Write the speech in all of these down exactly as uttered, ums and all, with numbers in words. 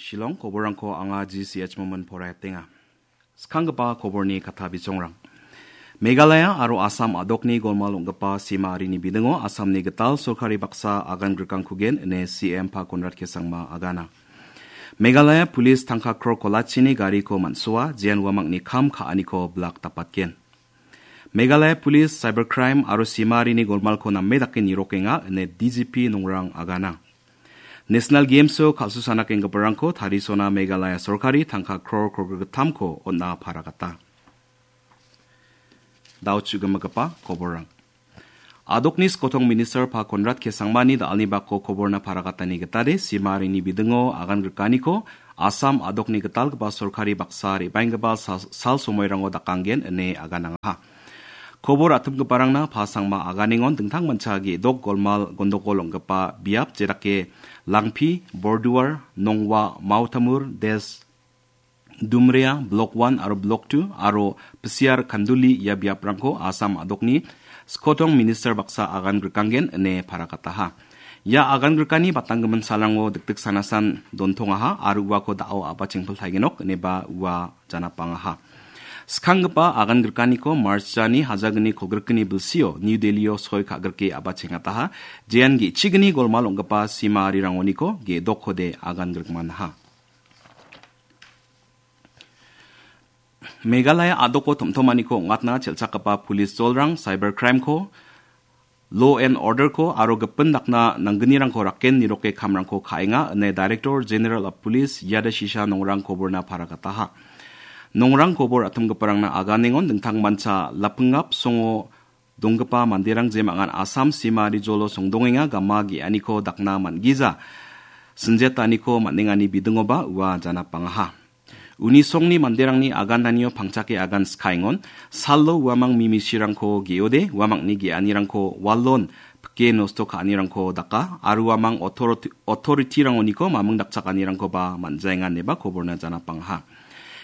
Shillong, koborrangko anga G C H Momin poraiatenga. Skanggipa koborni katta bisongrang. Meghalaya aro Assam a·dokni golmal ong·gipa sima arini bidingo Assamni gital sorkari baksa agan grikangkugen ine C M Pa Konrad K Sangma agana. Meghalaya Police tangka kror kolachini gariko man·soa, jean uamangni kam ka·aniko bilak dapatgen. Meghalaya Police Cybercrime aro simarini golmalko name dake nirokenga ine D G P Nongrang agana. National Games-o kal·susana kenggiparangko tarisona Meghalaya sorkari tangka kror kolgrittamko on·a paragata. Dao chu·gimigipa koborrang. A·dokni skotong minister Pa Konrad K Sangmani da·alni bako koborna paragatani gitade simarini bidingo agan grikaniko Assam a·dokni gitalgipa sorkari baksa re·baenggipa sal, sal somoirango dakanggen ine aganangaha. Kobor atimgiparangna Pa Sangma aganengon dingtangmancha ge·dok golmal gondokol ong·gipa biap jedake Langpi, Borduar, Nongwa, Mautamur, Des, Dumrea, Block one aro Block two aro Pisiar Kanduli ia biaprangko Assam a·dokni skotong minister baksa agan grikanggen ine paragataha. Ia agan grikani batanggimin salrango dikdik sanasan dontongaha aro uako da·o a·bachengpil taigenok ineba ua janapangaha. Skanggipa agan grikaniko March jani hajagni kolgrikni bilsio New Delhi-o soi ka·grike a·bachengataha. Jean ge·chigni golmal ong·gipa sima arirangoniko ge·dokkode agan grikmanaha. Meghalaya a·doko tom·tomaniko ong·atna chelchakgipa police jolrang cyber crime-ko, law and order-ko aro gipin dakna nanggnirangko rakken niroke kamrangko ka·enga ine Director General of Police Yada Shisha Nongrang koborna paragataha. Nongrang kobor atimgiparangna aganengon dingtangmancha lapingap songo donggipa manderang jemangan Assam sima rijolo songdongenga gama ge·aniko dakna man·gija sinjetaniko man·engani bidingoba ua janapangaha. Uni songni manderangni agananio pangchake agan skaengon, salo uamang mimisirangko ge·ode, uamangni ge·anirangko walon pike nosto ka·anirangko daka, aro uamang authority-, authority-rangoniko maming dakchakanirangkoba man·jaenga ineba koborna janapangaha.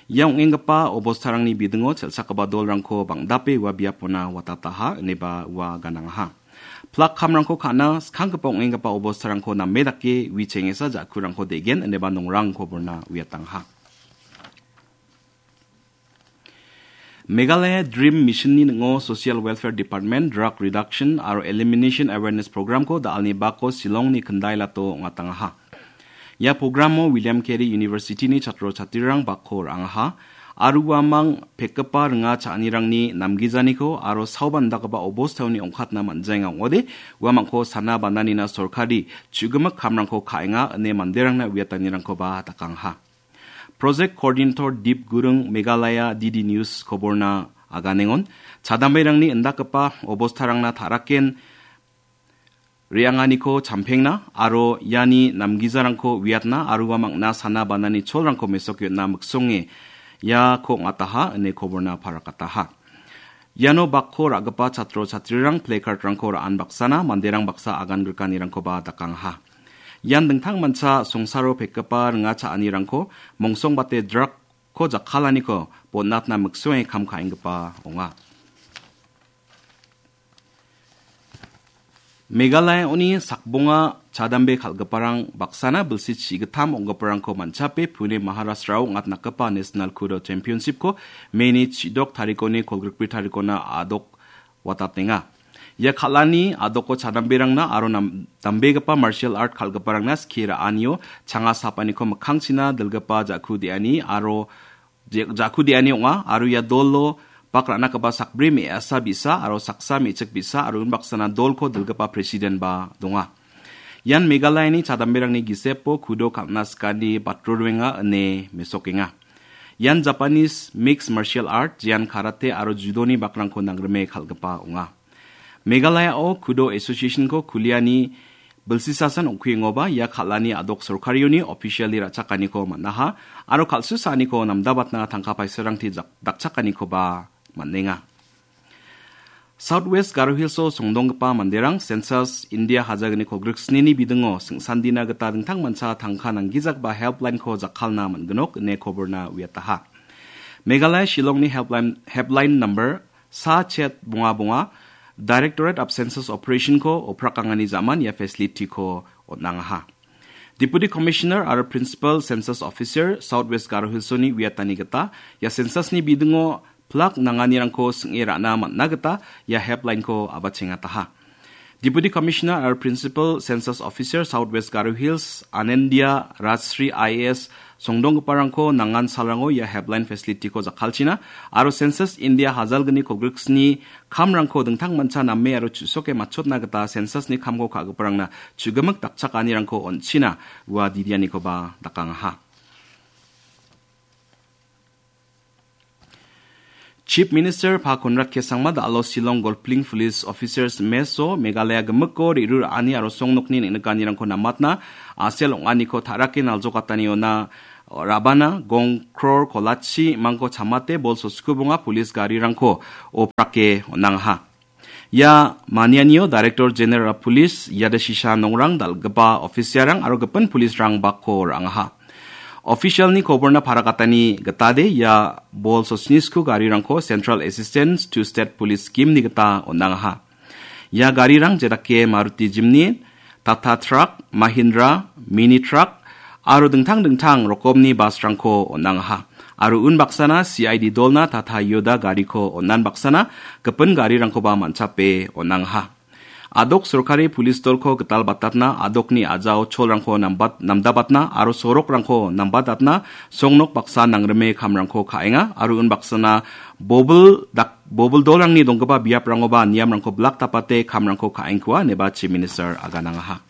Ia ong·enggipa obostarangni bidingo chelchakgipa dolrangko bang·dape ua biapona watataha ineba ua ganangaha. Plak kamrangko ka·na skanggipa ong·enggipa obostarangko name dake wi chengesa ja·kurangko de·gen ineba Nongrang koborna uiatangaha. Meghalaya Dream Mission-ni ning·o Social Welfare Department Drug Reduction aro Elimination Awareness Program-ko da·alni bako Shillong-ni Kyndailat-o ong·atangaha. Ia programo William Carey University-ni chatro chatrirang bakko ra·angaha. Aro uamang pekgipa ringa cha·anirangni namgijaniko aro saoba indakgipa obostaoni ong·katna man·jaenga ong·ode, uamangko sana bananina sorkari chu·gimik kamrangko ka·enga ine manderangna uiatanirangkoba dakangaha. Project Coordinator Deep Gurung Meghalaya D D News koborna aganengon, chadamberangni indakgipa obostarangna ta·raken re·anganiko champengna aro iani namgijarangko uiatna aro uamangna sana banani cholrangko mesoke on·na miksonge iako ong·ataha ine koborna parakataha. Iano bakko ra·gipa chatro chatrirang placard-rangko ra·an baksana manderang baksa agan grikanirangkoba dakangaha. Ian dingtangmancha songsaro pekgipa ringa cha·anirangko mongsongbate drug-ko jakkalaniko bon·atna miksonge kam ka·enggipa ong·a. Meghalaya-oni sakbonga chadambe kal·giparang baksana bilsi chi·gittam ong·giparangko man·chape Pune Maharashtra-o ong·atnakgipa National Kudo Championship-ko May-ni chi·dok tarikoni kolgrikbri tarikona a·dok watatenga. Ia kal·ani a·doko chadamberangna aro nam-, dambegipa martial art kal·giparangna skie ra·anio changa sapaniko mikkangchina dilgipa ja·ku de·ani aro je-, ja·ku de·ani ong·a, aro ia dolo bak ra·nagipa sakbri me·asa bi·sa aro saksa me·chik bi·sa aro unbaksana dolko dilgipa president-ba donga. Ian Meghalayani chadamberangni gisepo kudo kal·na sikani batro roenga ine mesokenga. Ian Japanese mixed martial art, jean karate aro judoni bakrangko nangrime kal·gipa ong·a. Meghalaya-o Kudo Association-ko kuliani bilsisasan ong·kuengoba ia kal·ani a·dok sorkarioni officially ra·chakaniko man·aha aro kal·susaaniko namdabatna tangka paisarangti jak-, dakchakanikoba man·enga. South West Garo Hills-o songdonggipa manderang census India hajagniko griksnini bidingo sing·sandina gita dingtangmancha tangka nanggijagipa helpline-ko jakkalna man·ginok ine koborna uiataha. Meghalaya Shillongni helpline, helpline number sa chet bonga bonga, Directorate of Census Operation-ko oprakangani ja·man ia facility-ko on·angaha. Deputy Commissioner aro Principal Census Officer South West Garo Hills-oni uiatani gita ia census-ni bidingo plak nanganirangko sing·e ra·na man·na gita ia helpline-ko abachengataha. Deputy Commissioner aro Principal Census Officer South West Garo Hills Anendia Rajshri I A S songdonggiparangko nangan salrango ia helpline facility-ko jakkalchina aro Census India hajalgni kolgriksni kamrangko dingtang mancha name aro chu·soke matchotna gita census-ni kamko ka·giparangna chu·gimik dakchakanirangko on·china ua didianikoba dakangaha. Chief Minister Pa Conrad K Sangma da·alo Shillong Golfling Police Officers Mess-o Meghalaya gimikko re·ruraani aro songnokni neng·nikanirangko namatna, A C L ong·aniko ta·rake naljokataniona rabana, gong kror kolachi mangko chamate bol soskubonga police garirangko oprake on·angaha. Ia manianio Director General Police, Yadashisha Nongrang, dal·gipa officer-rang aro gipin police-rang bakko ra·angaha. Official-ni koborna parakatani gitade ia bol sosnisku garirangko Central Assistance to State Police Scheme-ni gita on·angaha. Ia garirang jedake Maruti Jimny, Tata Truck, Mahindra, Mini Truck, aro dingtang dingtang rokomni bus-rangko on·angaha. Aro unbaksana C I D dolna Tata Yoda gariko on·anbaksana gipin garirangkoba man·chape on·angaha. Adok sorkari pulis dolko gital batatna, adokni a·jao cholrangko nambat-, namdabatna aro sorokrangko nambatatna songnok baksa nangrime kamrangko ka·enga aro unbaksana bobil dak-, bobil dolrangni donggipa biaprangoba niamrangko blak dapate kamrangko ka·engkua ineba Chief Minister aganangaha.